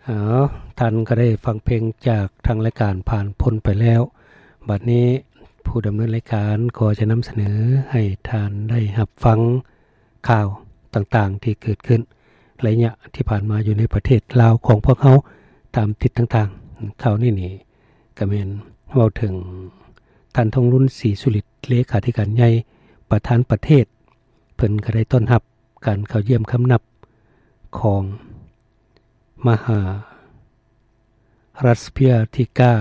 ເອົາ, ທ່ານກໍໄດ້ຟັງເພງຈາກທາງລາຍການຜ່ານພົ້ນໄປແລ້ວ. ບັດນີ້ຜູ້ດຳເນີນລາຍການກໍຈະນຳສະເໜີໃຫ້ທ່ານໄດ້ຮັບຟັງຂ່າວຕ່າງໆທີ່ເກີດຂຶ້ນໄລຍະທີ່ຜ່ານມາຢູ່ໃນປະເທດລາວຂອງພວກເຮົາຕາມທິດຕ່າງໆ. ຂ່າວນີ້ນີ້ກໍແມ່ນເວົ້າເຖິງທ່ານ ທອງລຸນ ສີສຸລິດ ເລຂາທິການໃຫຍ່ ປະທານປະເທດ, ເພິ່ນກໍໄດ້ຕ້ອນຮັບ ການເຂົ້າຢ້ຽມຄຳນັບຂອງມະຫາລັດສະພະຍາທິກາ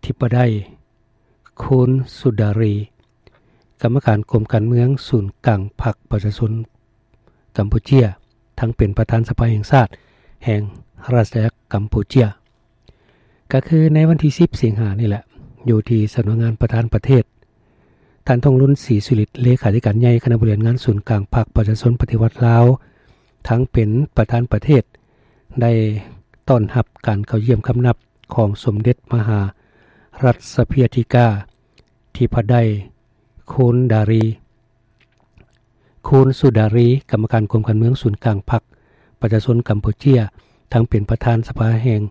ທິບະໄດ ຄູນ ສຸດາຣີ ກຳມະການກົມການເມືອງສູນກາງພັກປະຊາຊົນກຳປູເຈຍ, ທັງເປັນປະທານສະພາແຫ່ງຊາດແຫ່ງອານາຈັກກຳປູເຈຍ. ກໍຄືໃນວັນທີສິບສິງຫານີ້ແຫຼະ, ຢູ່ທີ່ສຳນັກງານປະທານປະເທດ, ທ່ານ ທອງລຸນ ສີສຸລິດ ເລຂາທິການໃຫຍ່ຄະນະບໍລິຫານງານສູນກາງພັກປະຊາຊົນປະຕິວັດລາວ, ທັງເປັນປະທານປະເທດ, ໄດ້ຕ້ອນຮັບການເຂົ້າຢ້ຽມຄຳນັບຂອງສົມເດັດມະຫາລັດສະພະຍາທິກາທິບະໄດ ຄູນ ດາຣີ ຄູນ ສຸດາຣີ ກຳມະການກົມການເມືອງສູນກາງພັກປະຊາຊົນກຳປູເຈຍ, ທັງເປັນປະທານສະພາແຫ່ງ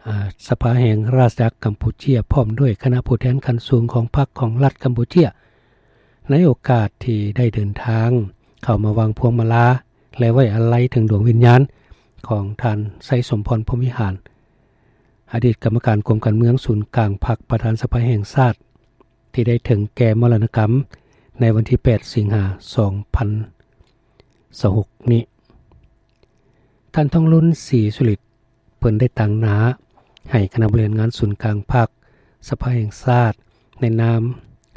ອາ ສະພາແຫ່ງອານາຈັກກຳປູເຈຍ ພ້ອມດ້ວຍຄະນະຜູ້ແທນຂັ້ນສູງຂອງພັກຂອງລັດກຳປູເຈຍ, ໃນໂອກາດທີ່ໄດ້ເດີນທາງເຂົ້າມາວາງພວງມາລາ ແລະ ໄວ້ອາໄລເຖິງດວງວິນຍານຂອງທ່ານ ໄຊສົມພອນ ພົມວິຫານ ອະດີດກຳມະການກົມການເມືອງສູນກາງພັກ ປະທານສະພາແຫ່ງຊາດ ທີ່ໄດ້ເຖິງແກ່ມໍລະນະກຳໃນວັນທີແປດສິງຫາສອງພັນຊາວຫົກນີ້. ທ່ານ ທອງລຸນ ສີສຸລິດ ເພິ່ນໄດ້ຕາງໜ້າໃຫ້ຄະນະບໍລິຫານງານສູນກາງພັກ, ສະພາແຫ່ງຊາດ, ໃນນາມ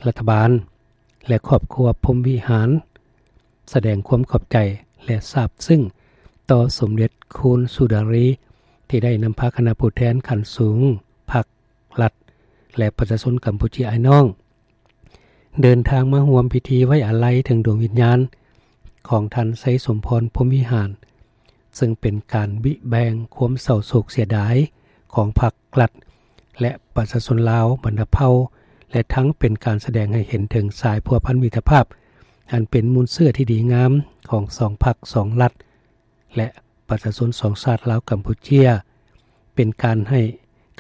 ລັດຖະບານ ແລະ ຄອບຄົວພົມວິຫານ ສະແດງຄວາມຂອບໃຈ ແລະ ຊາບຊຶ້ງຕໍ່ສົມເດັດຄູນ ສຸດາຣີ ທີ່ໄດ້ນຳພາຄະນະຜູ້ແທນຂັ້ນສູງພັກ, ລັດ ແລະ ປະຊາຊົນກຳປູເຈຍອ້າຍນ້ອງ ເດີນທາງມາຮ່ວມພິທີໄວ້ອາໄລເຖິງດວງວິນຍານຂອງທ່ານ ໄຊສົມພອນ ພົມວິຫານ, ເຊິ່ງເປັນການບິແບ່ງຄວາມເສົ້າໂສກເສຍດາຍຂອງພັກ, ລັດ ແລະ ປະຊາຊົນລາວບັນດາເຜົ່າ ແລະ ທັງເປັນການສະແດງໃຫ້ເຫັນເຖິງສາຍພົວພັນມິດຕະພາບ ອັນເປັນມູນເຊື້ອທີ່ດີງາມຂອງສອງພັກ, ສອງລັດ ແລະ ປະຊາຊົນສອງຊາດລາວກຳປູເຈຍ, ເປັນການໃຫ້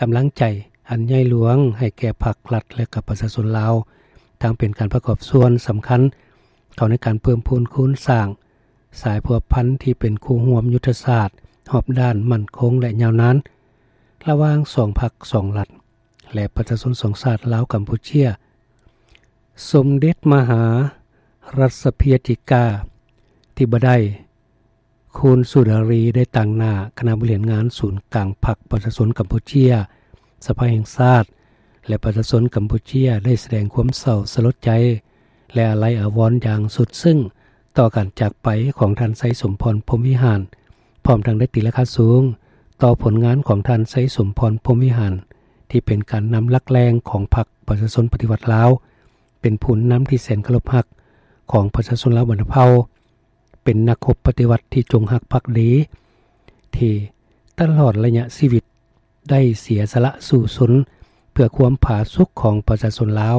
ກຳລັງໃຈອັນໃຫຍ່ຫຼວງໃຫ້ແກ່ພັກ, ລັດ ແລະ ກັບປະຊາຊົນລາວ, ທັງເປັນການປະກອບສ່ວນສຳຄັນເຂົ້າໃນການເພີ່ມພູນຄູນສ້າງສາຍພົວພັນທີ່ເປັນຄູ່ຮ່ວມຍຸດທະສາດຮອບດ້ານ, ໝັ້ນຄົງ ແລະ ຍາວນານ ລະຫວ່າງສອງພັກ, ສອງລັດ ແລະ ປະຊາຊົນສອງຊາດລາວກຳປູເຈຍ. ສົມເດັດມະຫາລັດສະພະຍາທິກາທິບະໄດ ຄູນ ສຸດາຣີ ໄດ້ຕາງໜ້າຄະນະບໍລິຫານງານສູນກາງພັກປະຊາຊົນກຳປູເຈຍ, ສະພາແຫ່ງຊາດ ແລະ ປະຊາຊົນກຳປູເຈຍ ໄດ້ສະແດງຄວາມເສົ້າສະຫຼົດໃຈ ແລະ ອາໄລອາວອນຢ່າງສຸດຊຶ້ງຕໍ່ການຈາກໄປຂອງທ່ານ ໄຊສົມພອນ ພົມວິຫານ, ພ້ອມທັງໄດ້ຕີລາຄາສູງຕໍ່ຜົນງານຂອງທ່ານ ໄຊສົມພອນ ພົມວິຫານ ທີ່ເປັນການນຳຫຼັກແຫຼ່ງຂອງພັກປະຊາຊົນປະຕິວັດລາວ, ເປັນຜູ້ນຳທີ່ແສນເຄົາລົບຮັກຂອງປະຊາຊົນລາວບັນດາເຜົ່າ, ເປັນນັກຮົບປະຕິວັດທີ່ຈົງຮັກພັກດີ ທີ່ຕະຫຼອດໄລຍະຊີວິດໄດ້ເສຍສະຫຼະສູ້ຊົນເພື່ອຄວາມຜາສຸກຂອງປະຊາຊົນລາວ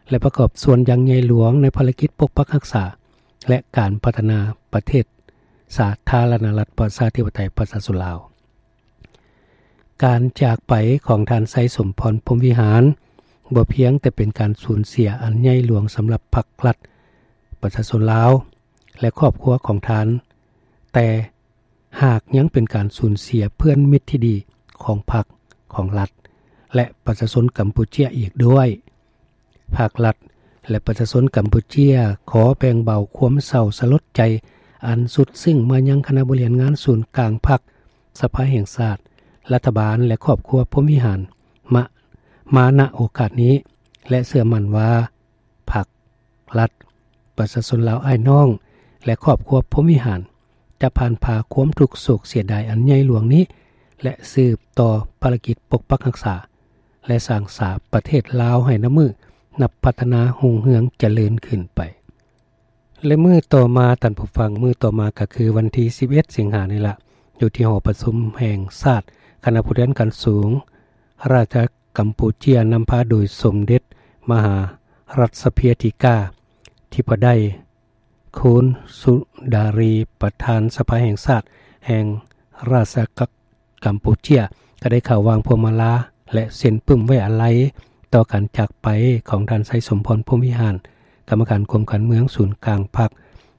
ແລະ ປະກອບສ່ວນຢ່າງໃຫຍ່ຫຼວງໃນພາລະກິດປົກປັກຮັກສາ ແລະ ການພັດທະນາປະເທດສາທາລະນະລັດປະຊາທິປະໄຕປະຊາຊົນລາວ. ການຈາກໄປຂອງທ່ານ ໄຊສົມພອນ ພົມວິຫານ ບໍ່ພຽງແຕ່ເປັນການສູນເສຍອັນໃຫຍ່ຫຼວງສຳລັບພັກ, ລັດ, ປະຊາຊົນລາວ ແລະ ຄອບຄົວຂອງທ່ານ, ແຕ່ຫາກຍັງເປັນການສູນເສຍເພື່ອນມິດທີ່ດີຂອງພັກ, ຂອງລັດ ແລະ ປະຊາຊົນກຳປູເຈຍອີກດ້ວຍ. ພາກລັດ ແລະ ປະຊາຊົນກຳປູເຈຍ ຂໍແບ່ງເບົາຄວາມເສົ້າສະຫຼົດໃຈອັນສຸດຊຶ້ງມາຍັງຄະນະບໍລິຫານງານສູນກາງພັກ, ສະພາແຫ່ງຊາດ, ລັດຖະບານ ແລະ ຄອບຄົວພົມວິຫານ ມາ, ມາ ນະ ໂອກາດນີ້ ແລະ ເຊື່ອໝັ້ນວ່າ ພັກ, ລັດ, ປະຊາຊົນລາວອ້າຍນ້ອງ ແລະ ຄອບຄົວພົມວິຫານ ຈະຜ່ານຜ່າຄວາມທຸກໂສກເສຍດາຍອັນໃຫຍ່ຫຼວງນີ້ ແລະ ສືບຕໍ່ພາລະກິດປົກປັກຮັກສາ ແລະ ສ້າງສາປະເທດລາວໃຫ້ນັບມື້ນັບພັດທະນາຮຸ່ງເຮືອງຈະເລີນຂຶ້ນໄປ. ແລະ ມື້ຕໍ່ມາ, ທ່ານຜູ້ຟັງ, ມື້ຕໍ່ມາກໍຄືວັນທີສິບເອັດສິງຫານີ້ລະ, ຢູ່ທີ່ຫໍປະຊຸມແຫ່ງຊາດ, ຄະນະຜູ້ແທນຂັ້ນສູງ ອານາຈັກກຳປູເຈຍ ນຳພາໂດຍສົມເດັດມະຫາລັດສະພະຍາທິກາທິບະໄດ ຄູນ ສຸດາຣີ ປະທານສະພາແຫ່ງຊາດແຫ່ງ ຣາຊອານາຈັກກຳປູເຈຍ ກໍໄດ້ເຂົ້າວາງພວງມາລາ ແລະ ເຊັນປຶ້ມໄວ້ອາໄລຕໍ່ການຈາກໄປຂອງທ່ານ ໄຊສົມພອນ ພົມວິຫານ ກຳມະການກົມການເມືອງສູນກາງພັກ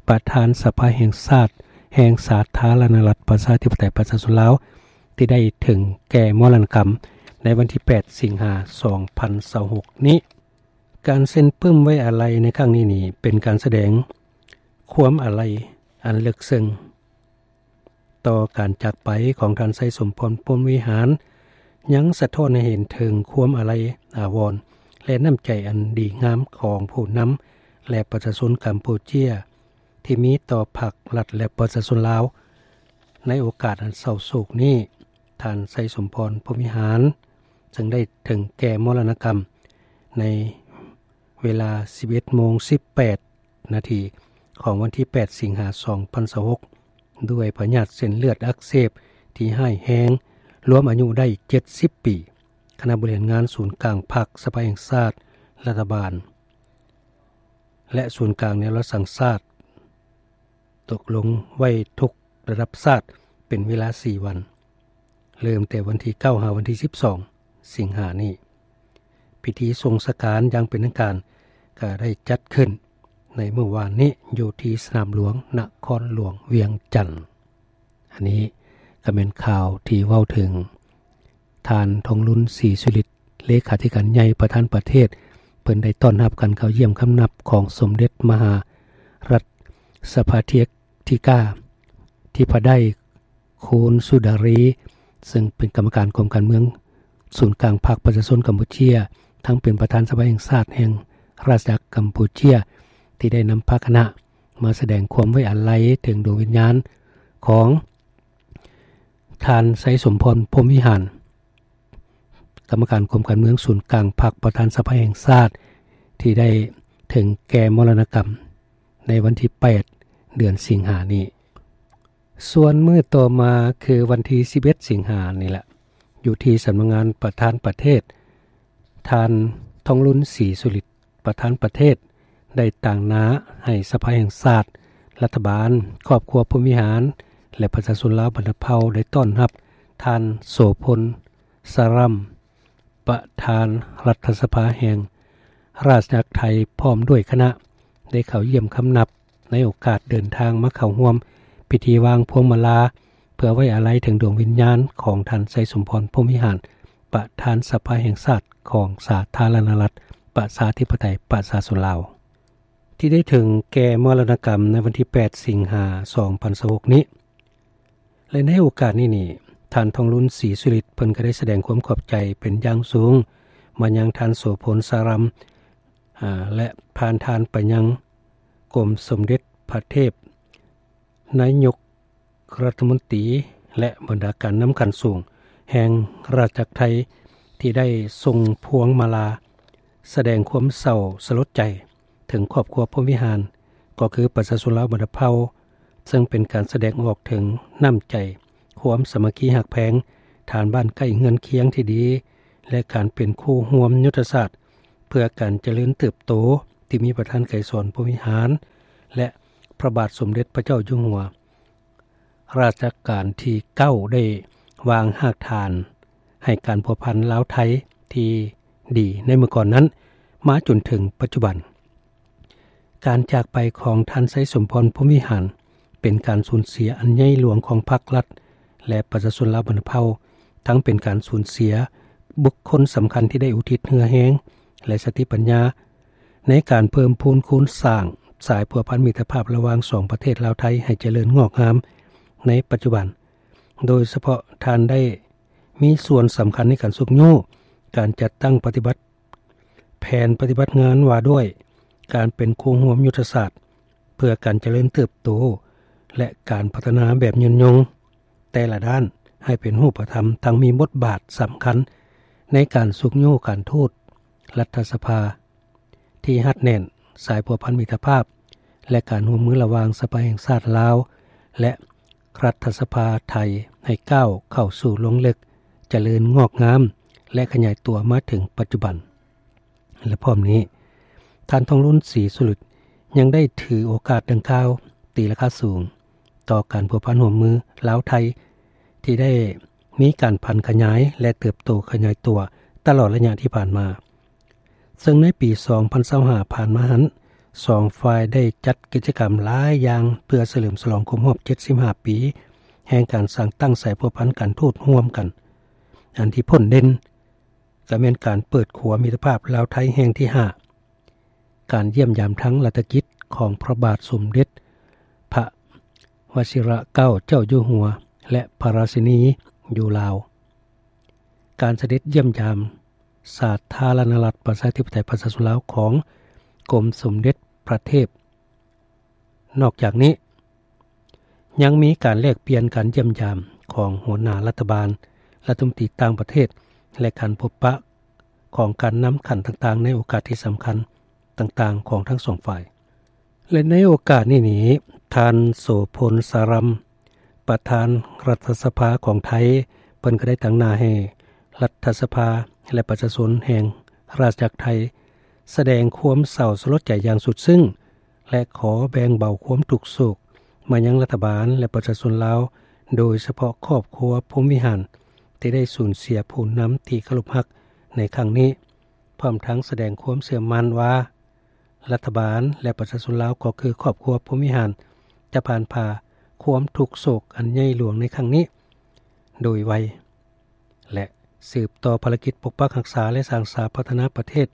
ປະທານສະພາແຫ່ງຊາດ ແຫ່ງສາທາລະນະລັດ ປະຊາທິປະໄຕ ປະຊາຊົນລາວ ທີ່ໄດ້ເຖິງແກ່ມໍລະນະກຳໃນວັນທີແປດ ສິງຫາ ສອງພັນຊາວຫົກນີ້. ການເຊັນປຶ້ມໄວ້ອາໄລໃນຄັ້ງນີ້ນີ້ ເປັນການສະແດງຄວາມອາໄລອັນເລິກເຊິ່ງຕໍ່ການຈາກໄປຂອງທ່ານ ໄຊສົມພອນ ພົມວິຫານ ຍັງສະທ້ອນໃຫ້ເຫັນເຖິງຄວາມອາໄລອາວອນ ແລະ ນ້ຳໃຈອັນດີງາມຂອງຜູ້ນຳ ແລະ ປະຊາຊົນກຳປູເຈຍ ທີ່ມີຕໍ່ພັກລັດ ແລະ ປະຊາຊົນລາວ. ໃນໂອກາດອັນເສົ້າໂສກນີ້, ທ່ານ ໄຊສົມພອນ ພົມວິຫານ ເຊິ່ງໄດ້ເຖິງແກ່ມໍລະນະກຳໃນເວລາ ສິບເອັດໂມງ ສິບແປດນາທີ ຂອງວັນທີແປດ ສິງຫາ ສອງພັນຊາວຫົກ ດ້ວຍພະຍາດເສັ້ນເລືອດອັກເສບທີ່ຮ້າຍແຮງ, ລວມອາຍຸໄດ້ ເຈັດສິບປີ. ຄະນະບໍລິຫານງານສູນກາງພັກ, ສະພາແຫ່ງຊາດ, ລັດຖະບານ ແລະ ສູນກາງແນວລາວສ້າງຊາດ ຕົກລົງໄວ້ທຸກລະດັບຊາດເປັນເວລາສີ່ວັນ, ເລີ່ມແຕ່ວັນທີເກົ້າ ຫາວັນທີສິບສອງ ສິງຫານີ້. ພິທີສົ່ງສະການຢ່າງເປັນທາງການກໍໄດ້ຈັດຂຶ້ນໃນມື້ວານນີ້ ຢູ່ທີ່ສະໜາມຫຼວງນະຄອນຫຼວງວຽງຈັນ. ອັນນີ້ກໍແມ່ນຂ່າວທີ່ເວົ້າເຖິງ ທ່ານ ທອງລຸນ ສີສຸລິດ ເລຂາທິການໃຫຍ່ປະທານປະເທດ ເພິ່ນໄດ້ຕ້ອນຮັບການເຂົ້າຢ້ຽມຄຳນັບຂອງສົມເດັດມະຫາລັດສະພາທິກາທິພະໄດ ຄູນ ສຸດາຣີ ເຊິ່ງເປັນກຳມະການກົມການເມືອງສູນກາງພັກປະຊາຊົນກຳປູເຈຍ ທັງເປັນປະທານສະພາແຫ່ງຊາດແຫ່ງຣາຊອານາຈັກກຳປູເຈຍ ທີ່ໄດ້ນຳພາຄະນະມາສະແດງຄວາມໄວ້ອາໄລເຖິງດວງວິນຍານຂອງ ທ່ານ ໄຊສົມພອນ ພົມວິຫານ ກຳມະການກົມການເມືອງສູນກາງພັກ ປະທານສະພາແຫ່ງຊາດ ທີ່ໄດ້ເຖິງແກ່ມໍລະນະກຳໃນວັນທີແປດ ເດືອນສິງຫານີ້. ສ່ວນມື້ຕໍ່ມາຄືວັນທີສິບເອັດ ສິງຫານີ້ແຫຼະ, ຢູ່ທີ່ສຳນັກງານປະທານປະເທດ, ທ່ານ ທອງລຸນ ສີສຸລິດ ປະທານປະເທດ ໄດ້ຕາງໜ້າໃຫ້ສະພາແຫ່ງຊາດ, ລັດຖະບານ, ຄອບຄົວພົມວິຫານ ແລະ ປະຊາຊົນລາວບັນດາເຜົ່າ ໄດ້ຕ້ອນຮັບທ່ານ ໂສພົນ ສາຣຳ ປະທານລັດຖະສະພາແຫ່ງຣາຊອານາຈັກໄທ ພ້ອມດ້ວຍຄະນະ ໄດ້ເຂົ້າຢ້ຽມຄຳນັບ ໃນໂອກາດເດີນທາງມາເຂົ້າຮ່ວມພິທີວາງພວງມາລາ ເພື່ອໄວ້ອາໄລເຖິງດວງວິນຍານຂອງທ່ານ ໄຊສົມພອນ ພົມວິຫານ ປະທານສະພາແຫ່ງຊາດຂອງສາທາລະນະລັດ ປະຊາທິປະໄຕ ປະຊາຊົນລາວ ທີ່ໄດ້ເຖິງແກ່ມໍລະນະກຳໃນວັນທີແປດ ສິງຫາ ສອງພັນຊາວຫົກນີ້. ແລະ ໃນໂອກາດນີ້ນີ້, ທ່ານ ທອງລຸນ ສີສຸລິດ ເພິ່ນກໍໄດ້ສະແດງຄວາມຂອບໃຈເປັນຢ່າງສູງມາຍັງທ່ານ ໂສພົນ ສາຣຳ ອາ ແລະ ຜ່ານທ່ານໄປຍັງກົມສົມເດັດພະເທບ ນາຍົກລັດຖະມົນຕີ ແລະ ບັນດາການນຳຂັ້ນສູງແຫ່ງຣາຊອານາຈັກໄທ ທີ່ໄດ້ສົ່ງພວງມາລາສະແດງຄວາມເສົ້າສະຫຼົດໃຈເຖິງຄອບຄົວພົມວິຫານ ກໍຄືປະຊາຊົນລາວບັນດາເຜົ່າ, ເຊິ່ງເປັນການສະແດງອອກເຖິງນ້ຳໃຈ, ຄວາມສາມັກຄີຮັກແພງ, ຖານບ້ານໃກ້ເຮືອນຄຽງທີ່ດີ ແລະ ການເປັນຄູ່ຮ່ວມຍຸດທະສາດ ເພື່ອການຈະເລີນເຕີບໂຕ ທີ່ມີປະທານໄກສອນ ພົມວິຫານ ແລະ ພະບາດສົມເດັດພະເຈົ້າຢູ່ຫົວ ລາຊະການທີເກົ້າ ໄດ້ວາງຮາກຖານໃຫ້ການພົວພັນລາວ-ໄທທີ່ດີໃນເມື່ອກ່ອນນັ້ນ ມາຈົນເຖິງປັດຈຸບັນ. ການຈາກໄປຂອງທ່ານ ໄຊສົມພອນ ພົມວິຫານ ເປັນການສູນເສຍອັນໃຫຍ່ຫຼວງຂອງພັກລັດ ແລະ ປະຊາຊົນລາວບັນດາເຜົ່າ, ທັງເປັນການສູນເສຍບຸກຄົນສຳຄັນທີ່ໄດ້ອຸທິດເຫື່ອແຮງ ແລະ ສະຕິປັນຍາ ໃນການເພີ່ມພູນຄູນສ້າງສາຍພົວພັນມິດຕະພາບລະຫວ່າງສອງປະເທດລາວ-ໄທໃຫ້ຈະເລີນງອກງາມໃນປັດຈຸບັນ. ໂດຍສະເພາະທ່ານໄດ້ມີສ່ວນສຳຄັນໃນການຊຸກຍູ້ການຈັດຕັ້ງປະຕິບັດ ແຜນປະຕິບັດງານວ່າດ້ວຍການເປັນຄູ່ຮ່ວມຍຸດທະສາດເພື່ອການຈະເລີນເຕີບໂຕ ແລະ ການພັດທະນາແບບຍືນຍົງແຕ່ລະດ້ານໃຫ້ເປັນຮູບປະທຳ, ທັງມີບົດບາດສຳຄັນໃນການຊຸກຍູ້ການທູດ, ລັດຖະສະພາທີ່ຮັດແໜ້ນ, ສາຍພົວພັນມິດຕະພາບ ແລະ ການຮ່ວມມືລະຫວ່າງສະພາແຫ່ງຊາດລາວ ແລະ ລັດຖະສະພາໄທ ໃຫ້ກ້າວເຂົ້າສູ່ລົງເລິກ, ຈະເລີນງອກງາມ ແລະ ຂະຫຍາຍຕົວມາເຖິງປັດຈຸບັນ. ແລະ ພ້ອມນີ້, ທ່ານ ທອງລຸນ ສີສຸລິດ ຍັງໄດ້ຖືໂອກາດດັ່ງກ່າວ ຕີລາຄາສູງຕໍ່ການພົວພັນຮ່ວມມືລາວ-ໄທ ທີ່ໄດ້ມີການຜັນຂະຫຍາຍ ແລະ ເຕີບໂຕຂະຫຍາຍຕົວຕະຫຼອດໄລຍະທີ່ຜ່ານມາ. ເຊິ່ງໃນປີສອງພັນຊາວຫ້າຜ່ານມາຫັ້ນ ສອງຝ່າຍໄດ້ຈັດກິດຈະກຳຫຼາຍຢ່າງ ເພື່ອສະເຫຼີມສະຫຼອງຄົບຮອບເຈັດສິບຫ້າປີ ແຫ່ງການສ້າງຕັ້ງສາຍພົວພັນການທູດຮ່ວມກັນ. ອັນທີ່ພົ້ນເດັ່ນກໍແມ່ນການເປີດຂົວມິດຕະພາບລາວ-ໄທແຫ່ງທີຫ້າ, ການຢ້ຽມຢາມທາງລັດຖະກິດຂອງພະບາດສົມເດັດພະວະຊິລະເກົ້າເຈົ້າຢູ່ຫົວ ແລະ ພະລາຊິນີຢູ່ລາວ, ການສະເດັດຢ້ຽມຢາມສາທາລະນະລັດປະຊາທິປະໄຕປະຊາຊົນລາວຂອງກົມສົມເດັດພະເທບ. ນອກຈາກນີ້ ຍັງມີການແລກປ່ຽນການຢ້ຽມຢາມຂອງຫົວໜ້າລັດຖະບານ, ລັດຖະມົນຕີຕ່າງປະເທດ ແລະ ການພົບປະຂອງການນຳຂັ້ນຕ່າງໆ ໃນໂອກາດທີ່ສຳຄັນຕ່າງໆ ຂອງທັງສອງຝ່າຍ. ແລະ ໃນໂອກາດນີ້ນີ້ ທ່ານ ໂສພົນ ສາຣຳ ປະທານລັດຖະສະພາຂອງໄທ ເພິ່ນກໍໄດ້ຕາງໜ້າໃຫ້ລັດຖະສະພາ ແລະ ປະຊາຊົນແຫ່ງລາຊະອານາຈັກໄທ ສະແດງຄວາມເສົ້າສະຫຼົດໃຈຢ່າງສຸດຊຶ້ງ ແລະ ຂໍແບ່ງເບົາຄວາມທຸກໂສກມາຍັງລັດຖະບານ ແລະ ປະຊາຊົນລາວ, ໂດຍສະເພາະຄອບຄົວພົມວິຫານ ທີ່ໄດ້ສູນເສຍຜູ້ນຳທີ່ເຄົາລົບຮັກໃນຄັ້ງນີ້, ພ້ອມທັງສະແດງຄວາມເຊື່ອໝັ້ນວ່າ ລັດຖະບານ ແລະ ປະຊາຊົນລາວ ກໍຄືຄອບຄົວພົມວິຫານ ຈະຜ່ານຜ່າຄວາມທຸກໂສກອັນໃຫຍ່ຫຼວງໃນຄັ້ງນີ້ໂດຍໄວ ແລະ ສືບຕໍ່ພາລະກິດປົກປັກຮັກສາ ແລະ ສ້າງສາພັດທະນາປະເທດ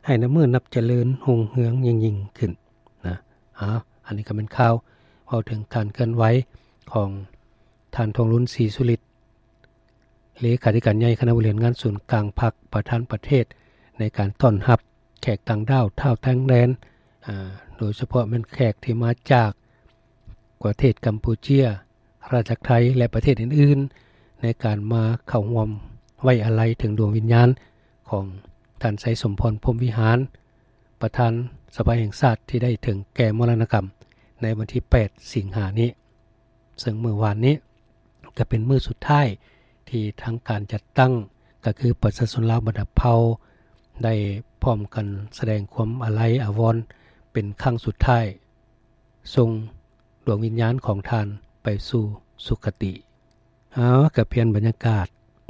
ໃຫ້ນັບມື້ນັບຈະເລີນຮຸ່ງເຮືອງຍິ່ງໆຂຶ້ນນະ. ເອົາ ອັນນີ້ກໍແມ່ນຂ່າວເວົ້າເຖິງການເຄື່ອນໄຫວຂອງທ່ານ ທອງລຸນ ສີສຸລິດ ເລຂາທິການໃຫຍ່ຄະນະບໍລິຫານງານສູນກາງພັກ ປະທານປະເທດ ໃນການຕ້ອນຮັບແຂກຕ່າງດ້າວທ້າວຕ່າງແດນ, ອາ, ໂດຍສະເພາະແມ່ນແຂກທີ່ມາຈາກປະເທດກຳປູເຈຍ, ລາຊະອານາຈັກໄທ ແລະ ປະເທດອື່ນໆ ໃນການມາເຂົ້າຮ່ວມໄວ້ອາໄລເຖິງດວງວິນຍານຂອງທ່ານ ໄຊສົມພອນ ພົມວິຫານ ປະທານສະພາແຫ່ງຊາດ ທີ່ໄດ້ເຖິງແກ່ມໍລະນະກຳໃນວັນທີແປດ ສິງຫານີ້. ເຊິ່ງມື້ວານນີ້ກໍເປັນມື້ສຸດທ້າຍທີ່ທາງການຈັດຕັ້ງ ກໍຄືປະຊາຊົນລາວບັນດາເຜົ່າ ໄດ້ພ້ອມກັນສະແດງຄວາມອາໄລອາວອນເປັນຄັ້ງສຸດທ້າຍ ສົ່ງດວງວິນຍານຂອງທ່ານໄປສູ່ສຸຄະຕິ. ເອົາ ກໍປ່ຽນບັນຍາກາດ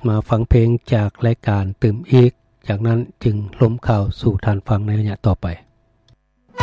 ມາຟັງເພງຈາກລາຍການຕື່ມອີກ, ຈາກນັ້ນຈຶ່ງລົມຂ່າວສູ່ທ່ານຟັງໃນໄລຍະຕໍ່ໄປ.